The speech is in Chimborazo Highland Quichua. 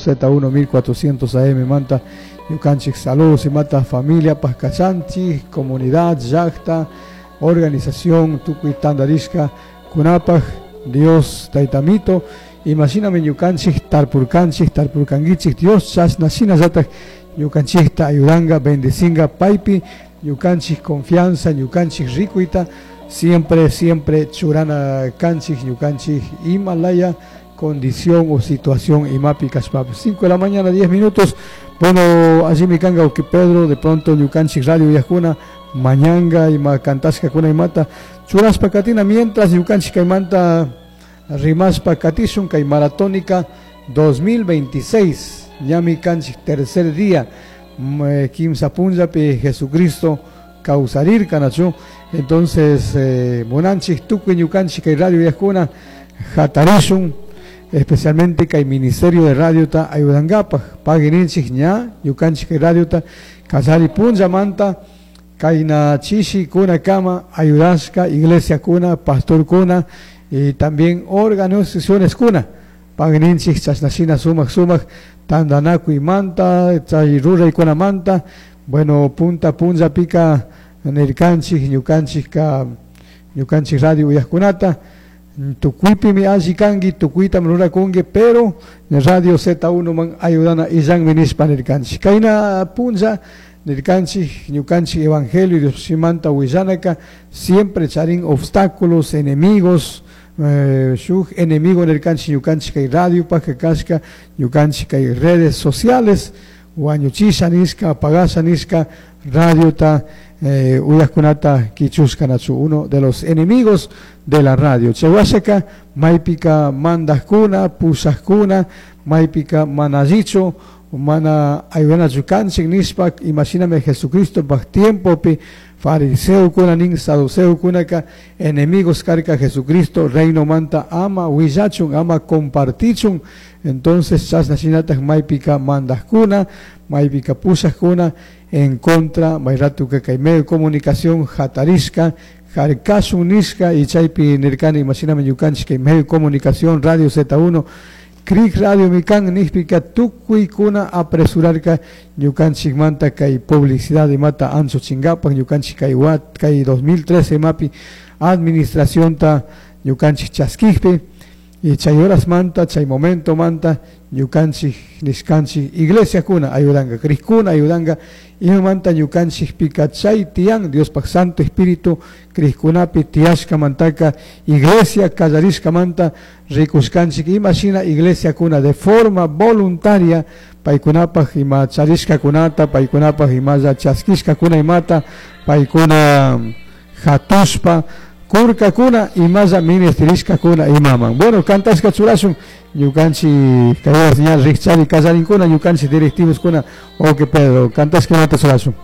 Z1 1400 AM manta ñukanchik saludos imata familia kachanchik, comunidad, llakta, organización tukuy tandarishka kunapaj Dios taytamito imashinami ñukanchik tarpurkanchik tarpurkankichik Dios chashna shinallatak ñukanchikta ayudanga bendecinga paypi ñukanchik confianza ñukanchik rikuyta siempre siempre churana kanchik ñukanchik ima laya condición o situación imapi kashpapish. 5 de la mañana, 10 minutos. Bueno, allí kanga que Pedro, de pronto ñukanchik radio uyajkuna, mañanga ima kantashkakuna imata churashpa katina mientras ñukanchik kaymanta rimashpa katishun kay maratónica 2026 ñami kanchik tercer día kimsa punllapi Jesucristo kawsarirka nachu. Entonces munanchik tukuy ñukanchik kay radio uyajkuna hatarishun especialmente kay ministerio de radiota ayudankapaj paguininchik ña ñukanchik kay radiota kallari punllamanta kayna chishi kuna kama ayudashka iglesia kuna pastor kuna y también organizaciones kuna paguininchik chashnashina sumak sumak tantanakuymanta chay ruraykunamanta bueno punta punllapika nirkanchik ñukanchikka ñukanchik radio uyajkunata tukuypimi alli kanki tukuytam rurakunki pero radio Z1 man ayudana illanmi nishpa nirkanchik kayna punlla nirkanchik ñukanchik evangelio Diosimanta willanaka siempre charin obstáculos enemigos shuk enemigo nirkanchik ñukanchik kay radiopaj kashka ñukanchik kay redes sociales wañuchisha nishka apagasha nishka radiota uyajkunata kichushka nachu uno de los enemigos de la radio. Chay maypika mandajkuna pushajkuna maypika mana allichu mana ayudanachu kanchik nishpa imashinami Jesucristo paj tiempopi fariseokuna nin saduceokunaka enemigos karka Jesucristo reinomanta ama willachun ama compartichun. Entonces chashna shinatak maypika mandajkuna maypika pushajkuna en contra may ratuka kay medio de comunicación hatarishka harkashun nishka y chaypi nirkani imashinami ñukanchik kay medio de comunicación radio Z1 Cric Radio mikan nishpika tukuykuna apresurarka ñukanchikmanta kay publicidad imata anchuchinkapaj ñukanchik kay wat kay 2013 imapi administracionta ñukanchik chaskikpi y chay horasmanta chay momentomanta ñukanchik nishkanchik iglesiakuna ayudanka crikuna ayudanka imamanta ñukanchikpika chay tiyan Diospaj Santo Espíritu crikkunapi tiyashkamantaka iglesia kallarishkamanta rikushkanchik imashina iglesiakuna de forma voluntaria paykunapaj ima charishkakunata paykunapaj imalla chaskishkakuna imata paykuna hatushpa kurkakuna imalla ministerishkakuna imaman. Bueno, kantashka churashun ñukanchik kay ña rikchari kallarinkuna ñukanchik directivoskuna. Ok, Pedro, kantashka imata churashun.